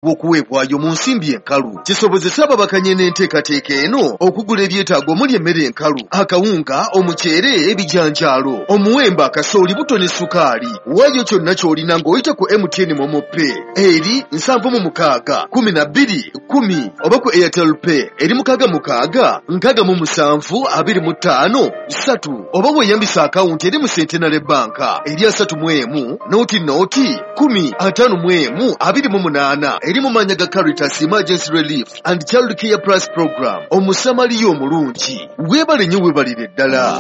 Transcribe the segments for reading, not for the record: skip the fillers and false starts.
Okuweebwayo mu nsimbi enkalu kisobozesa ababakanye n'enteekateeka eno okugula ebyetaago omuli emmere enkalu, akawunga, omuceere, ebijanjaalo, omuwemba, kasooli, buto ne sukaali. Waayo kyonna ky'olina ng'oyita ku MTN MoMo Pay eri 76 12 10 oba ku Airtel Pay eri 66 67 25 3 oba weeyambisa akawunti eri mu Centenary Bank eri 31 00 10 51 28 eri mu mannya ga Caritas Emergency Relief and Child Care Plus Program. Omusamaliya omulungi, weebale nnyo, weebalire ddala.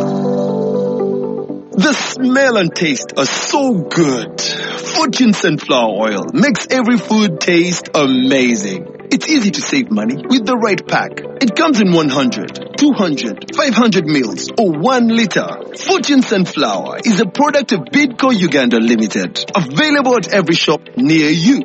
The smell and taste are so good. Fortune sunflower oil makes every food taste amazing. It's easy to save money with the right pack. It comes in 100, 200, 500 mils or 1 liter. Fortune Sunflower is a product of Bidco Uganda Limited. Available at every shop near you.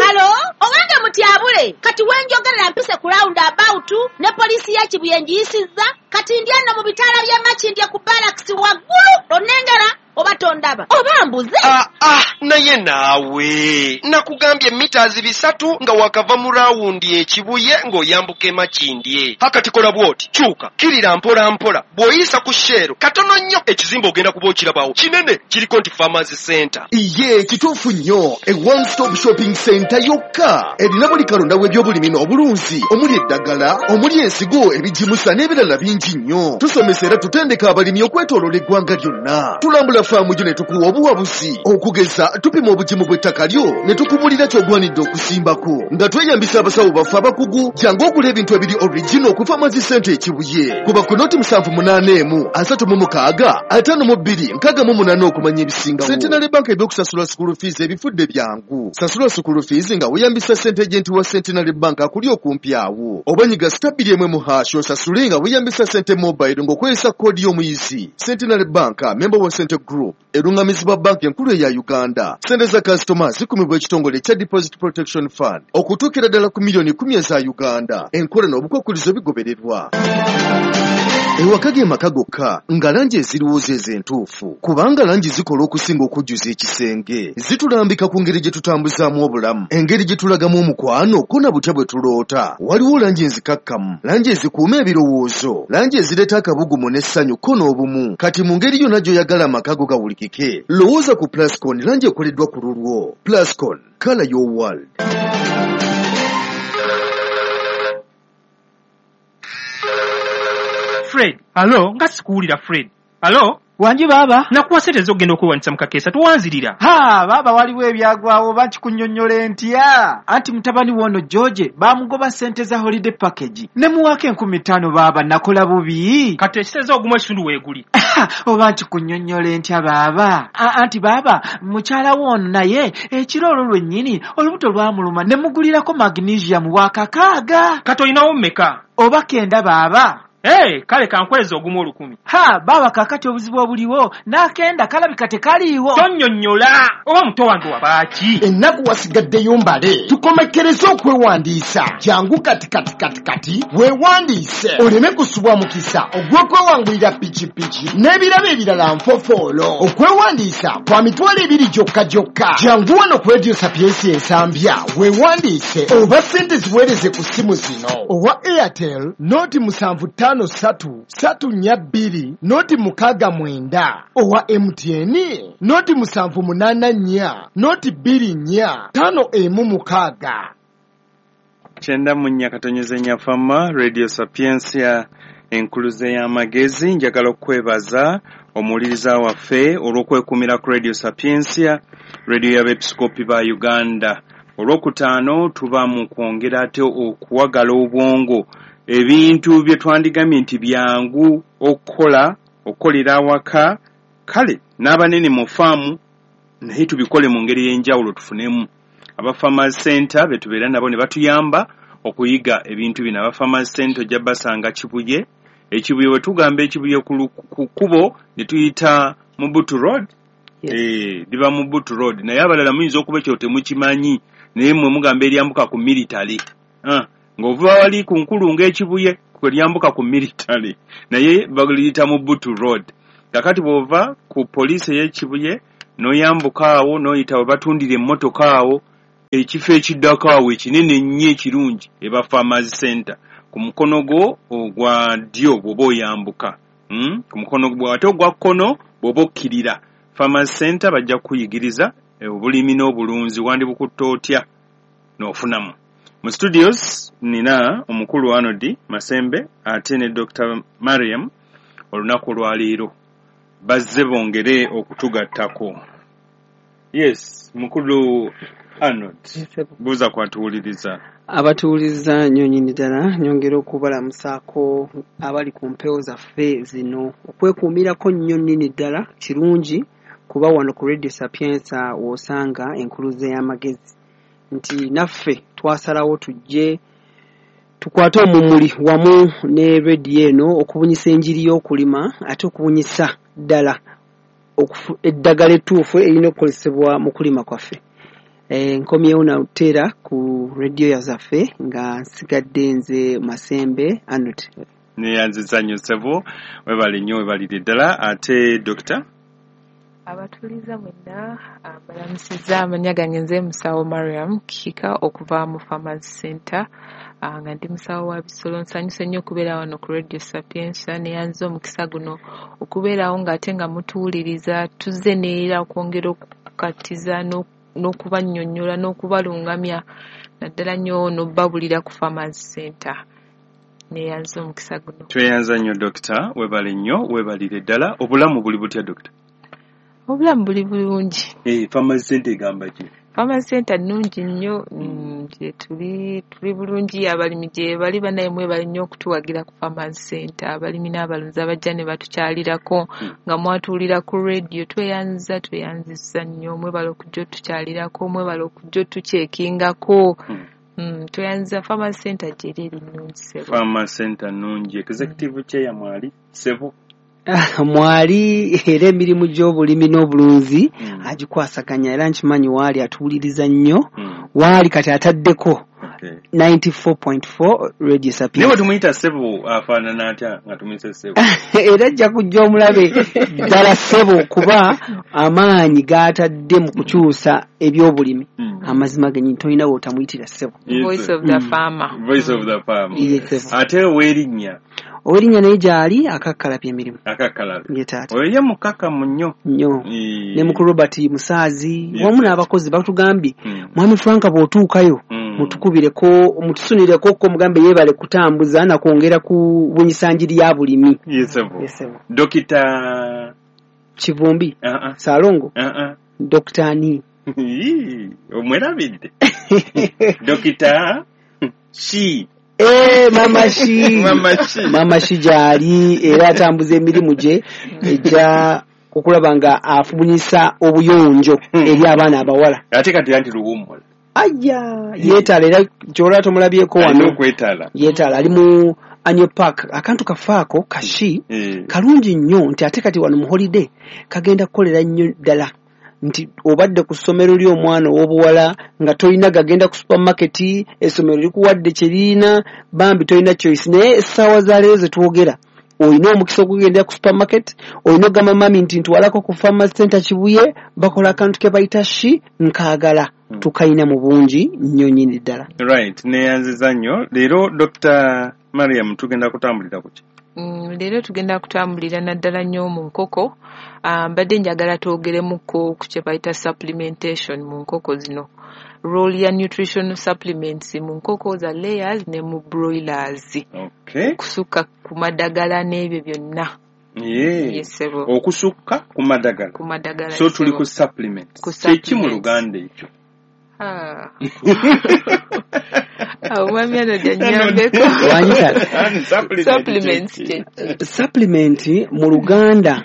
Hello, owange mutyabule, kati wenjogerera mpise ku round about ne poliisi ya Kibuye ngiyisizza, kati ndi eno mu bitaala by'e Makindye ku barracks waggulu, onnengera oba tondaba oba mbuze? Ah, ah, naye naawe nakugambye mita 300 nga wakava mu round ekibuye ng'oyambuka e Makindye. Hakati kola bw'oti, kyuka kirira mpola mpola, bw'oyisa ku Shell katono nnyo ekizimbe ogenda kuba okirabawo kinene kiriko nti Farmers Center. Iye kituufu nnyo, e one stop shopping center yokka erina buli kalonda w'ebyobulimi n'obulunzi omuli eddagala, omuli ensigo, ebigimusa n'ebirala bingi nnyo. Tusomesa era tutendeka abalimi okwetooloola eggwanga lyonna. Tulambula faamu gyo ne tukuwa obuwabuzi, okugeza tupima obugimu bw'ettaka lyo ne tukubulira ky'ogwanidde okusimbako nga tweyambisa abasawo baffe abakugu. Jangu ogula ebintu ebiri original ku Farmers Center Ekibuye. Kuba ku 0781 36 52 68 okumanya ebisingawo. Centenary Bank ebyokusasula school fees ebifudde byangu. Sasula school fees nga weeyambisa sente agent wa Centenary Bank akuli okumpi awo, oba nyiga *2 1 mu hash osasule nga weeyambisa sente mobile ng'okozesa koodi y'omuyizi. Centenary Bank, member wa Sente Group, erungamizibwa banka enkulu eya Uganda. Sente za kasitoma zikumibwa ekitongole ekya Deposit Protection Fund okutuukira ddala ku miliyoni 10 eza Uganda. Enkola n'obukwakulizo bigobererwa. Ewaka ge maka gokka nga langi eziriwo zeezo entuufu, kubanga langi zikola okusinga okujjuza ekisenge. Zitulambika ku ngeri gye tutambuzaamu obulamu, engeri gye tulagamu omukwano, ko na butya bwe tuloota. Waliwo langi enzikakkamu, langi ezikuuma ebirowoozo, langi ezireeta akabugumu n'essanyu ko n'obumu. Kati mu ngeri yonna gy'oyagala amaka go gawulikike, lowooza ku Plascon, langi ekoleddwa ku lulwo. Plascon, color your world. Fred, hello, nga sikuwulira Fred. Hello? Wangi baaba. Nakuwa sente ez'okugenda okwewandisa mu kakeesa, towanzirira. Ha, baaba, waliwo ebyagwawo, oba nkikunnyonnyola ntya? Anti mutabani woono George baamugoba ssente za holiday package ne muwaako 5,000. Baaba, nakola bubi. Kati ekiteeza ogumu ekitundu weeguli. Oba nkikunnyonnyola ntya baaba? Anti baaba, mukyala woono naye ekiro olwo lwennyini olubuto lwamuluma ne mugulirako magnesium wa 6. Kati olinawo mmeka? Oba kenda baaba. Hey, kale kankweza ogumu 1,000. Ha, baaba, kaakati obuzibu obuliwo n'akenda kalabika tekaliiwo. Tonnyonnyola, oba muto wange wabaaki? Ennaku wasigaddeyo mbale tukomekkereze okwewandiisa. Jangu kati kati kati kati weewandiise oleme kusubwa mukisa ogw'okwewangulira pikipiki n'ebirabo ebirala nfofoolo. Okwewandiisa kwa 20,000 gyokka gyokka. Jangu wano ku Radio Sapientia Ensambya weewandiise, oba ssente ziweereze ku ssimu zino: owa Airtel 0753 342 069, owa MTN 0784 024 516. 94.4 Fama Radio Sapientia, enkuluze y'amagezi. Njagala okwebaza omuwuliriza waffe olw'okwekumira ku Radio Sapientia, radio y'abeepiskopi ba Uganda. Olwokutaano tuba mu kwongera ate okuwagala obwongo, ebintu bye twandigambye nti byangu okukola, okukolera awaka, kale n'abanene mu faamu, naye tubikole mu ngeri ey'enjawulo. Tufunemu aba Farmers Center be tubeera nabo ne batuyamba okuyiga ebintu bino. Aba Farmers Center ojja basanga Kibuye. Ekibuye, we tugamba Ekibuye ku kkubo ne tuyita Mubutu Road. Yes. Liba Mubutu Road, naye abalala muyinza okuba ekyo temukimanyi, naye mmwe mugamba eryambuka ku military. Ah, ng'ova wali ku nkulungo Ekibuye kwe lyambuka ku military, naye baliyita Mubutu Road. Kakati bw'ova ku poliisi ey'Ekibuye n'oyambuka awo n'oyita we batundira emmotoka awo. Ekifo ekiddako awo ekinene ennyo ekirungi eba Farmers Center ku mukono gwo ogwa ddyo bw'oba oyambuka, ku mukono gwo ate ogwa kkono bw'oba okkirira. Farmers Center bajja kukuyigiriza obulimi n'obulunzi, wandibukutta otya n'ofunamu. Mu studios nina omukulu Arnold Masembe ate ne Dr. Mariam. Olunaku olwaleero bazze bongere okutugattako. Yes, mukulu Arnold, buuza kwatuwuliriza. Abatuwuliriza nnyo nnyini ddala, nyongera okubalamusaako abali ku mpewo zaffe zino. Okwekuumirako nnyo nnyini ddala kirungi, kuba wano ku Radio Sapienza w'osanga enkuluze y'amagezi nti naffe twasalawo tujje tukwate omumuli wamu ne rediyo eno okubunyisa enjiri y'okulima, ate okubunyisa ddala eddagala ettuufu erina okukozesebwa mu kulima kwaffe. Nkomyewo nateera ku rediyo zaffe nga nsigadde nze Masembe Arnold. Neyanziza nnyo ssebo, webale nnyo, webalire ddala. Ate Dokita? Abatuuliza mwenna mbalamusizza. Amannya gange nze Musawo Mariam Kika okuva mu Farmers Center, nga ndi musawo wa bisolo. Nsanyuse nnyo okubeera wano ku Radio Sapienza, neyanziza omukisa guno okubeerawo ng'ate nga mutuwuliriza. Tuzze neera okwongera okukatiza n'okubannyonnyola n'okubalungamya, naddala nnyo n'obbabulira ku Farmers Center. Neyanziza omukisa guno. Tweyanza nnyo Dokita, webale nnyo, webalire ddala. Obulamu buli butya Dokita? Obulamu buli bulungi. Farmers Center egamba ki? Farmers Center nnungi nnyo, gye tuli bulungi, abalimi gye bali banaye mwebale nnyo okutuwagira ku Farmers Center. Abalimi n'abalunzi abajja ne batukyalirako nga mwatuwulira ku radio, tweyanzizza nnyo, mwebale okujja otukyalirako, mwebale okujja otukyekingako. Tweyanziza Farmers Center gye eri nnungi ssebo. Farmers Center nnungi. Executive chair mwali ssebo? Mwali, era emirimu gy'obulimi n'obulunzi agikwasaganya, era nkimanyi waali atuwuliriza nnyo. Waali kati ataddeko 94.4 Radio Sapienza. Naye tumuyita ssebo afaanana atya nga tumuyise ssebo? Era ajja kujja omulabe ddala ssebo, kuba amaanyi g'atadde mu kukyusa ebyobulimi amazima gennyini tolina w'otamuyitira ssebo. Voice of the farmer. Voice of the farmer. Ate ow'erinnya? Ow'erinnya naye gy'ali akakkalabya emirimu. Akakkalabya. Ye taata. Oyo ye mukakamu nnyo. Nnyo. Ne mukulu Robert Musaazi wamu n'abakozi batugambye, Mwami Frank bw'otuukayo mutukubireko, mutusunireko ko mugambe yeebale kutambuza na kwongera ku bunyisa njiri ya bulimi. Yes, Dokita Kivumbi. Salongo. Dokita ani? Omwerabidde. Dokita Shi. Mama Shi. Mama Shi gy'ali era atambuza emirimu gye ejja okulaba nga afubunyisa obuyonjo eri abaana abawala. Ate kati anti luwummula. Aya, yeetala era ky'olaba tomulabyeko wano. Yeetala ali mu Annual Park. Akantu kafaako kashi kalungi nnyo nti ate kati wano mu holiday kagenda kukolera nnyo ddala. Nti obadde ku ssomero ly'omwana ow'obuwala nga tolina gagenda ku supermarket, essomero likuwadde kye lirina, bambi tolina choice. Naye essaawa za leero ze twogera olina omukisa okugendera ku supermarket, olina okugamba mami nti ntwalako ku Farmers Center Kibuye, bakola akantu ke bayita shi nkaagala, tukayina mu bungi nnyo nnyini ddala. Right, neyanziza nnyo. Leero Dr. Mariam tugenda kutambulira ku ki? Leero tugenda kutambulira naddala nnyo mu nkoko. Mbadde njagala twogeremuko ku kye bayita supplementation mu nkoko zino. Role ya nutritional supplements mu nkoko za layers ne mu broilers. Okay. Okusukka ku madagala n'ebyo byonna. Yes, okusukka ku madagala. Ku madagala. So tuli ku supplements. Kyeki mu Luganda ekyo? Omwami ano janyambeko. Supplements. Supplement mu Luganda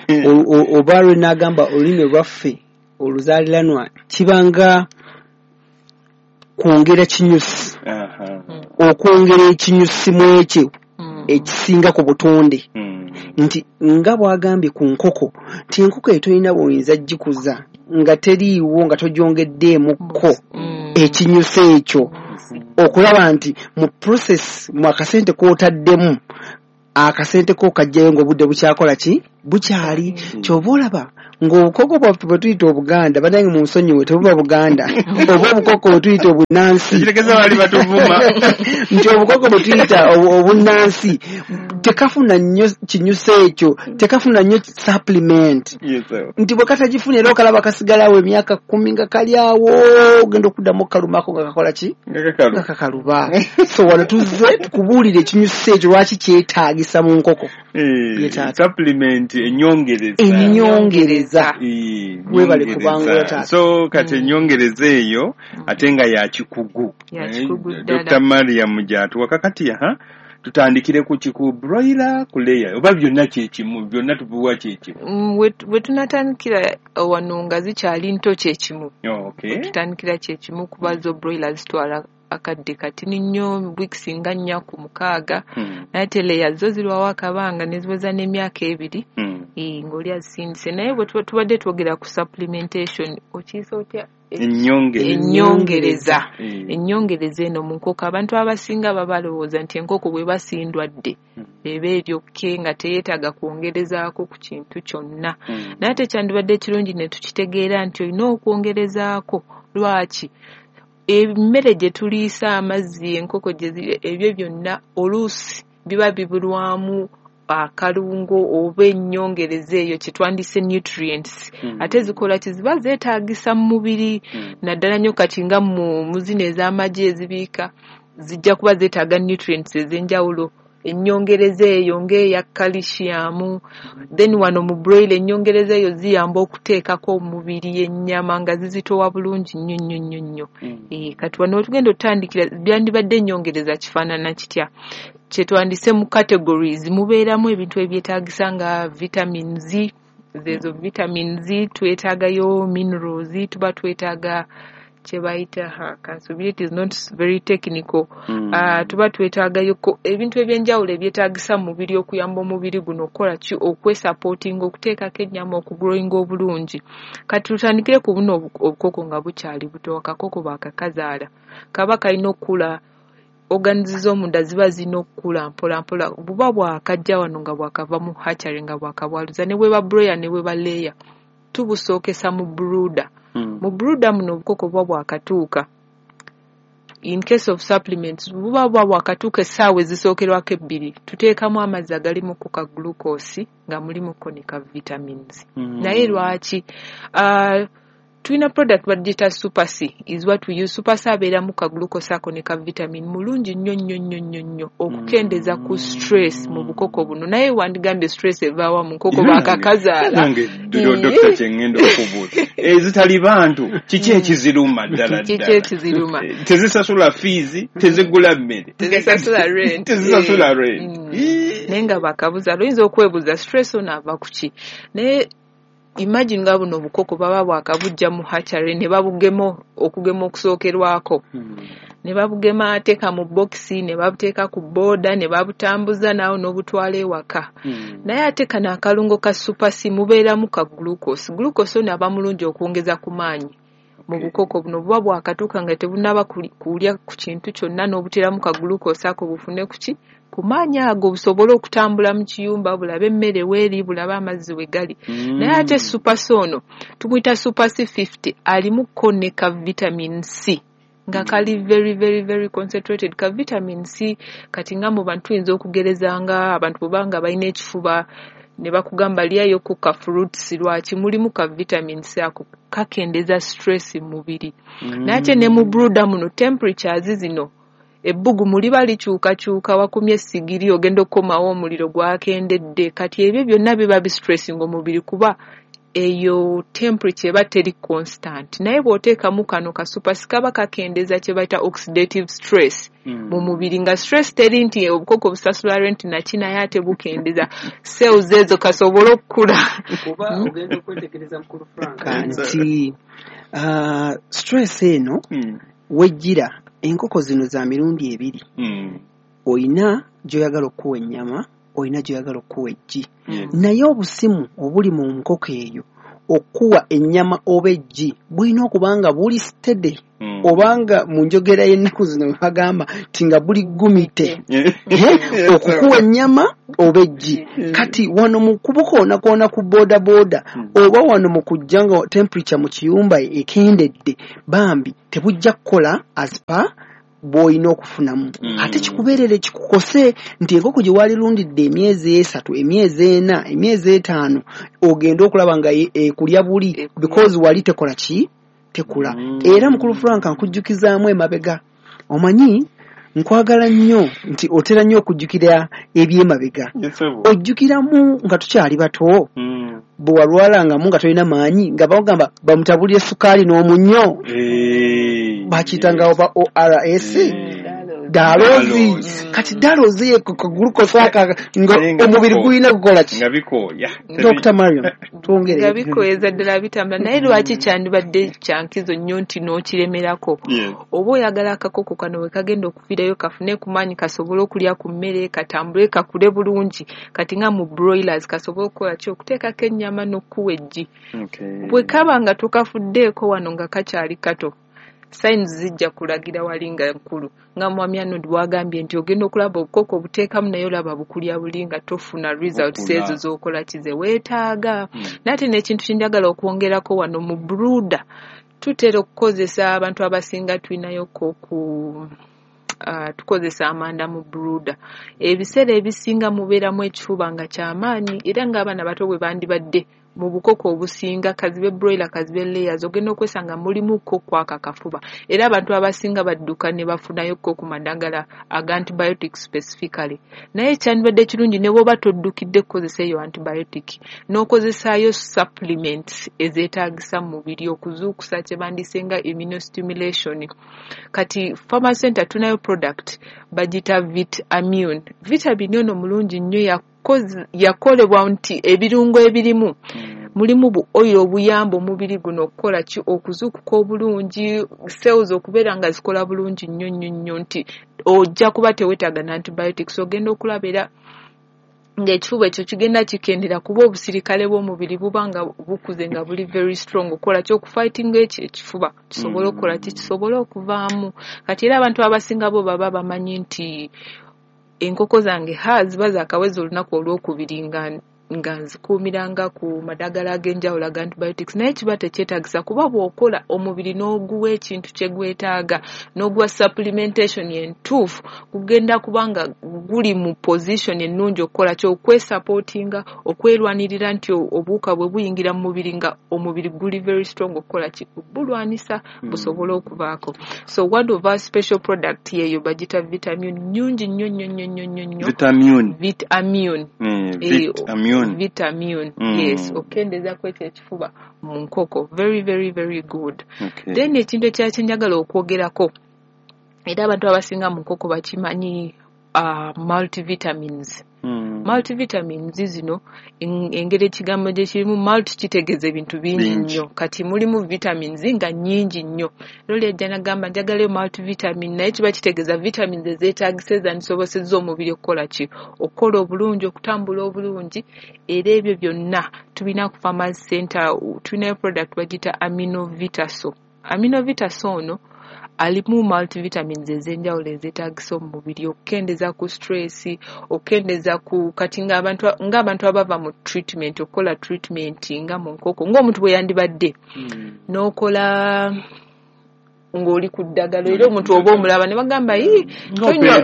oba lwe nagamba olulimi lwaffe oluzaaliranwa kibanga kwongera kinyusi. Okwongera ekinyusi mu ekyo ekisinga ku butonde. Nti nga bw'agambye ku nkoko nti enkoko eyo tolina bw'oyinza gikuza nga teriiwo nga togyongeddeemukko ekinyusi ekyo, okulaba nti mu process mu akasente k'otaddemu akasente ko kajjayo ng'obudde bukyakola ki bukyali. Ky'oba olaba Ng'obukoko bwaffe bwe tuyita Obuganda, bannange munsonyiwe, tebuba Buganda, oba obukoko bwe tuyita obunnansi. Kirekeza bali batuvuma. Nti obukoko bwe tuyita obunnansi tekafuna nnyo kinyusa ekyo, tekafuna nnyo supplement. Nti bwe katagifuna era okalaba kasigalawo emyaka 10 nga kali awo, ogenda okuddamu okukalumako nga kakola ki? Nga Nga kakaluba. So wano tuzze tukubuulire ekinyusa ekyo lwaki kyetaagisa mu nkoko. Supplement ennyongereza. Ennyongereza. Weebale kubangula taata. So kati ennyongereza eyo ate nga ya kikugu. Ya kikugu ddala. Dr. Mariam gy'atuwa kakati tutandikire ku kiku broiler ku layer oba byonna kyekimu, byonna tubiwa kyekimu. We tunatandikira wano nga zikyali nto kyekimu. Tutandikira kyekimu kuba zo broiler zitwala akadde katini nnyo, weeks nga 4 ku 6. Naye ate layer zo zirwawo akabanga ne ziweza n'emyaka 2. Ng'oli azisindise. Naye bwe tubadde twogera ku supplementation, okiyisa otya? Ennyongereza. Ennyongereza eno mu nkoko abantu abasinga babalowooza nti enkoko bwe basindwadde eba eryokke nga teyeetaaga kwongerezaako ku kintu kyonna. Naye ate kyandibadde kirungi ne tukitegeera nti olina okwongerezaako. Lwaki? Emmere gye tuliisa, amazzi enkoko gye zirya, ebyo byonna oluusi biba bibulwamu akalungo oba ennyongereza eyo kye twandise nutrients. Ate zikola ki? Ziba zeetaagisa mu mubiri, naddala nnyo kati nga mu zino ez'amagi ezibiika zijja kuba zeetaaga nutrients ez'enjawulo. Ennyongereza eyo ng'eya calcium, then wano mu broiler ennyongereza eyo ziyamba okuteekako omubiri ennyama nga zizitowa bulungi nnyo nnyo nnyo nnyo. Kati wano tugenda otandikira byandibadde ennyongereza kifaanana kitya? Kye twandise mu categories mubeeramu ebintu ebyetaagisa nga vitamins, zezo vitamins twetaagayo, minerals tuba twetaaga kye bayita kansuubire is not very technical. Tuba twetaagayo ebintu ebyenjawulo ebyetaagisa mu mubiri okuyamba omubiri guno okukola ki, okwesupportinga, okuteekako ennyama, okugrowinga obulungi. Kati tutandikire ku buno obukoko nga bukyali buto. Akakoko baakakazaala kaba kalina okukula, organs z'omunda ziba zirina okukula mpola mpola. Buba bwakajja wano nga bwakava mu hatchery nga bwakabwaluza, ne bweba broiler ne bweba layer, tubusookesa mu brooder. Mu brooder muno obukoko buba bwakatuuka. In case of supplements, buba bwakatuuka essaawa ezisookerwako 2, tuteekamu amazzi agalimu ku ka glucose nga mulimu ko ne ka vitamins. Naye lwaki? Tulina product bagiyita Super C is what we use. Super C abeeramu ka glucose ako ne ka vitamin mulungi nnyo nnyo nnyo nnyo nnyo okukendeeza ku stress mu bukoko buno. Naye wandigambye stress evaawa mu nkoko baakakazaala. Nange Dr. kyengenda okubuuza, ezitali bantu kiki ekiziruma ddala ddala? Kiki ekiziruma? Tezisasula fees, tezigula mmere, tezisasula rent. Tezisasula rent. Naye nga bakabuzaala oyinza okwebuuza stress ono ava ku ki? Naye imagine nga buno obukoko baba bwakabujja mu hatchery ne babugema okugema okusookerwako. Ne babugema ateeka mu bokisi, ne babuteeka ku booda, ne babutambuza naawo n'obutwala ewaka. Naye ate kano akalungo ka Super C mubeeramu ka glucose. Glucose ono aba mulungi okwongeza ku maanyi mu bukoko buno. Buba bwakatuuka nga tebunnaba kulya ku kintu kyonna, n'obuteeramu ka glucose ako bufune ku ki? Ku maanyi ago busobole okutambula mu kiyumba, bulabe emmere weeri, bulabe amazzi we gali. Naye ate Super C ono tumuyita Super C 50, alimu ko ne ka vitamin C nga kali very very very concentrated ka vitamin C. Kati nga mu bantu tuyinza okugereza nga abantu bwebanga balina ekifuba ne bakugamba lyayo ku ka fruits, lwaki mulimu ka vitamin C ako kakendeeza stress mu mubiri. Naye ate ne mu brooder muno temperatures zino ebbugumu liba likyukakyuka, wakumye essigiri ogenda okukomawo omuliro gwakendedde. Kati ebyo byonna biba bistressinga omubiri kuba eyo temperature eba teri constant. Naye bw'oteekamu kano ka Super C kaba kakendeeza kye bayita oxidative stress mu mubiri, nga stress teri nti obukoko busasula rent naki, naye ate bukendeeza cells ezo kasobole okukula. Kuba ogenda okwetegereza mukulu Frank nti stress eno wejjira enkoko zino za mirundi 2. Oyina gy'oyagala okuwa ennyama, oyina gy'oyagala okuwa eggi. Naye obusimu obuli mu nkoko eyo Okuwa ennyama oba eggi bulina okuba nga buli steady, obanga mu njogera y'ennaku zino bwe bagamba nti nga buli gumite okukuwa ennyama oba eggi. Kati wano mu kubukoonakoona ku boda boda oba wano mu kujja nga temperature mu kiyumba ekendedde, bambi tebujja kukola as per bw'olina okufunamu. Ate kikubeerere kikukose nti enkoko gye waalirundidde emyezi 3, emyezi 4, emyezi 5, ogende okulaba nga ekulya buli because wali tekola ki, tekula. Era mukulu Frank, nkujjukizaamu emabega, omanyi nkwagala nnyo nti otera nnyo okujjukira ebyemabega. Ojjukiramu nga tukyali bato, bwe walwalangamu nga tolina maanyi, nga bagamba bamutabulire sukaali n'omunnyo, bakiyitanga oba ORS, Dalozi. Kati Dalozi ye glucose aka nga omubiri gulina kukola ki? Nga bikooya. Dr. Mariam, twongere. Nga bikoyeza ddala bitambula. Naye lwaki kyandibadde kyankizo nnyo nti n'okiremerako? Oba oyagala akakoko kano we kagenda okuviirayo kafune ku maanyi, kasobole okulya ku mmere, katambule, kakule bulungi. Kati nga mu broilers kasobole okukola ki? Okuteekako ennyama n'okuwa eggi. Bwe kaba nga tokafuddeeko wano nga kakyali kato, signs zijja kulagira wali nga nkulu. Nga mwami Arnold bw'agambye nti ogenda okulaba obukoko obuteekamu naye olaba bukulya buli nga tofuna results ezo z'okola ki ze weetaaga. Naye ate n'ekintu kye njagala okwongerako wano mu brooder, tutera okukozesa abantu abasinga tulinayoko ku tukozesa amanda mu brooder. Ebiseera ebisinga mubeeramu ekifuba nga kyamaanyi, era ng'abaana bato bwe bandibadde mu bukoko obusinga, kazibe broiler, kazibe layers, ogenda okwesanga mulimu ko kwaka kafuba. Era abantu abasinga badduka ne bafunayo ko ku madagala aga antibiotic specifically. Naye kyandibadde kirungi ne bw'oba toddukidde kukozesa eyo antibiotic, n'okozesaayo supplements ezeetaagisa mu mubiri okuzuukusa kye bandise nga immunostimulation. Kati Pharma Center tunayo product bagiyita Vitamin. Vitamin ono mulungi nnyo, yakolebwa nti ebirungo ebirimu mulimu bu oil obuyamba omubiri guno okukola ki, okuzuukuka obulungi, cells okubeera nga zikola bulungi nnyo nnyo nnyo, nti ojja kuba teweetaaga na antibiotics. Ogenda okulaba era ng'ekifuba ekyo kigenda kikendera kuba obusirikale bw'omubiri buba nga bukuze nga buli very strong okukola ki, okufightinga ekyo ekifuba kisobole okukola ki, kisobole okuvaamu. Kati era abantu abasinga bo baba bamanyi nti enkoko zange ziba zaakaweza olunaku olwokubiri nga nzikuumiranga ku madagala ag'enjawulo aga antibiotics, naye kiba tekyetaagisa kuba bw'okola omubiri n'oguwa ekintu kye gwetaaga, n'oguwa supplementation entuufu, gugenda kuba nga guli mu position ennungi okukola ki, okwesupportinga, okwerwanirira nti obuwuka bwe buyingira mu mubiri nga omubiri guli very strong okukola ki, bulwanisa busobole okuvaako. So one of our special product yeeyo bagita Vitamin, nnungi nnyo nnyo nnyo nnyo nnyo nnyo. Vitamin. Vitamin. Vitamin. Vitamin, yes, okukendeeza ekyo ekifuba mu nkoko, very very very good. Then ekintu ekirala kye njagala okwogerako, era abantu abasinga mu nkoko bakimanyi, multivitamins. Multivitamins zino engeri ekigambo gye kirimu multi kitegeeza ebintu bingi nnyo. Kati mulimu vitamins nga nnyingi nnyo. Era oli ajja n'agamba njagalayo multivitamin, naye kiba kitegeeza vitamins ezeetaagisa ezandisobosezza omubiri okukola ki, okukola obulungi, okutambula obulungi. Era ebyo byonna tulina ku Pharmacy Center, tulinayo product bagiyita Amino Vitaso. Amino Vitaso ono alimu multivitamins ez'enjawulo ezeetaagisa omu mubiri okukendeeza ku stress, okukendeeza ku kati ng'abantu abava mu treatment, okukola treatment nga mu nkoko ng'omuntu bwe yandibadde n'okola ng'oli ku ddagala, era omuntu oba omulaba ne bagamba, "Ii, tonywa,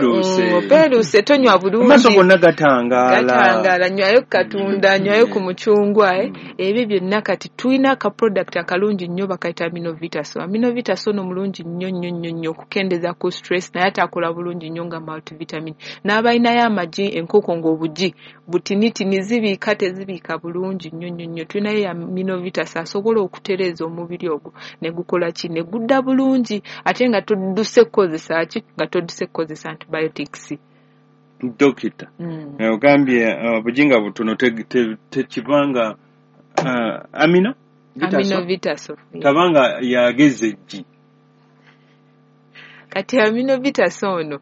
opeeruuse, tonywa bulungi." Amaaso gonna gatangaala. Gatangaala, nywayo ku katunda, nywayo ku mucungwa, eh. Ebyo byonna kati tulina aka product akalungi nnyo bakayita Amino Vitaso. Amino Vitaso ono mulungi nnyo nnyo nnyo nnyo okukendeeza ku stress, naye ate akola bulungi nnyo nga multivitamin. N'abalinayo amagi, enkoko ng'obugi butinitini, zibiika tezibiika bulungi nnyo nnyo nnyo, tulinayo Amino Vitaso asobola okutereeza omubiri ogwo ne gukola ki, ne gudda bulungi, ate nga todduse kukozesa ki, nga todduse kukozesa antibiotics. Dokita, ogambye obujinga butono tekibanga amino Vitaso? Amino Vitaso. Tabanga yageza eggi. Kati Amino Vitaso ono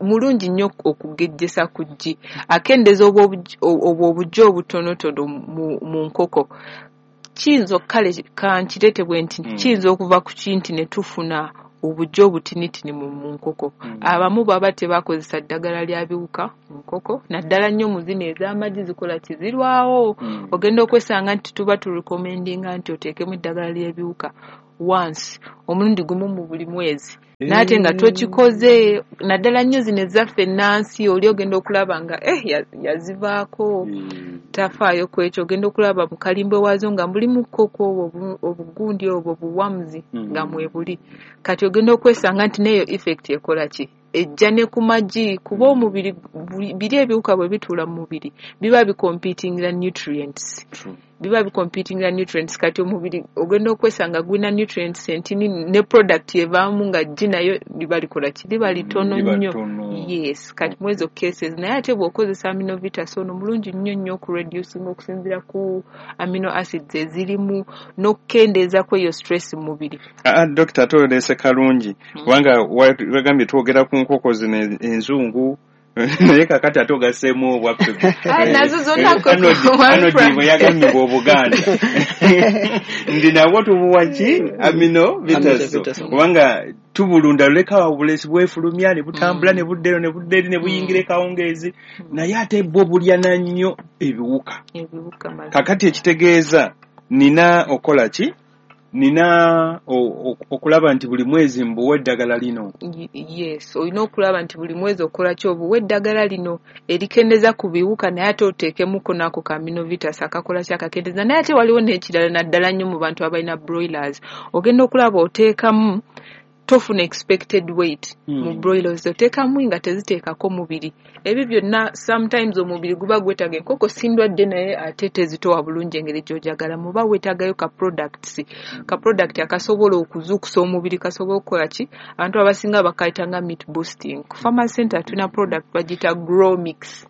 mulungi nnyo okugejjesa ku ggi, akendeeza obwo obujja obutonotono mu nkoko. Kiyinza, kale kankireete bwe nti, kiyinza okuva ku kinti ne tufuna obujja obutinitini mu nkoko. Abamu baba tebakozesa ddagala lya biwuka mu nkoko, naddala nnyo mu zino ez'amagi, zikola kizirwawo. Ogenda okwesanga nti tuba turecommendinga nti oteekemu eddagala ly'ebiwuka once, omulundi gumu mu buli mwezi, naate nga tokikoze, naddala nnyo zino ezaffe ennansi. Oli ogenda okulaba nga yazivaako, tafaayo ku ekyo. Ogenda okulaba mu kalimbwe waazo nga mulimu koko obwo obugundi obwo buwamuzi nga mwebuli. Kati ogenda okwesanga nti neeyo effect ekola ki, ejja ne ku magi, kuba omubiri biri ebiwuka bwe bituula mu mubiri biba bicompetingira nutrients, biba bicompetingira nutrients. Kati omubiri ogenda okwesanga gulina nutrients entini, ne product evaamu nga ggi nayo liba likola ki, liba litono nnyo. Yes, kati mu ezo cases, naye ate bw'okozesa aminovitas ono mulungi nnyo nnyo okureducing okusinziira ku amino acids ezirimu n'okukendeeza ku eyo stress mu mubiri. Dokita, ate oleese kalungi, kubanga wagambye twogera ku nkoko zino enzungu, naye kakati ate ogasseemu obwaffe. Nazo zonna. Anodi bwe yagambye Obuganda ndi nabwo tubuwa ki, amino vitaso, kubanga tubulunda luleka obulesi bwefulumya ne butambula ne budda eno ne budda eri ne buyingira ekawungeezi, naye ate bwo bulya na nnyo ebiwuka. Kakati ekitegeeza nina okola ki, nina okulaba nti buli mwezi mbuwa eddagala lino. Yes, olina okulaba nti buli mwezi okola ki, obuwa eddagala lino erikendeza ku biwuka, naye ate oteekemuko nako ka aminovitas akakola ki, akakendeza. Naye ate waliwo n'ekirala, naddala nnyo mu bantu abalina broilers, ogenda okulaba oteekamu tofuna expected weight mu broilers, oteekamu nga teziteekako mubiri. Ebyo byonna sometimes omubiri guba gwetaaga, enkoko si ndwadde, naye ate tezitowa bulungi engeri gy'ojagala. Muba weetaagayo ka product akasobola okuzuukusa omubiri, kasobola okukola ki, abantu abasinga bakayita nga meat boosting. Ku Farmers Center tulina product bagiyita Growmix.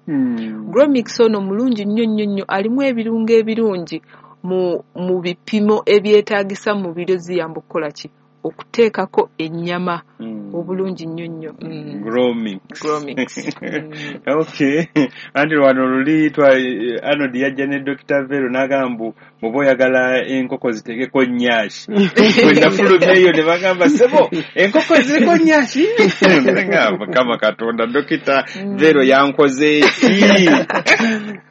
Growmix ono mulungi nnyo nnyo nnyo, alimu ebirungo ebirungi mu bipimo ebyetaagisa mu mubiri, ziyamba okukola ki, okuteekako ennyama obulungi nnyo nnyo. Growmix. Growmix. Okay, anti wano luli Arnold yajja ne Dr. Vero n'agamba mbu bw'oba oyagala enkoko ziteekeko nyashi, bwe nafulumya eyo ne bagamba, "Ssebo, enkoko ziriko nyashi?" Ngamba, "Mukama Katonda, Dr. Vero yankoze ki?"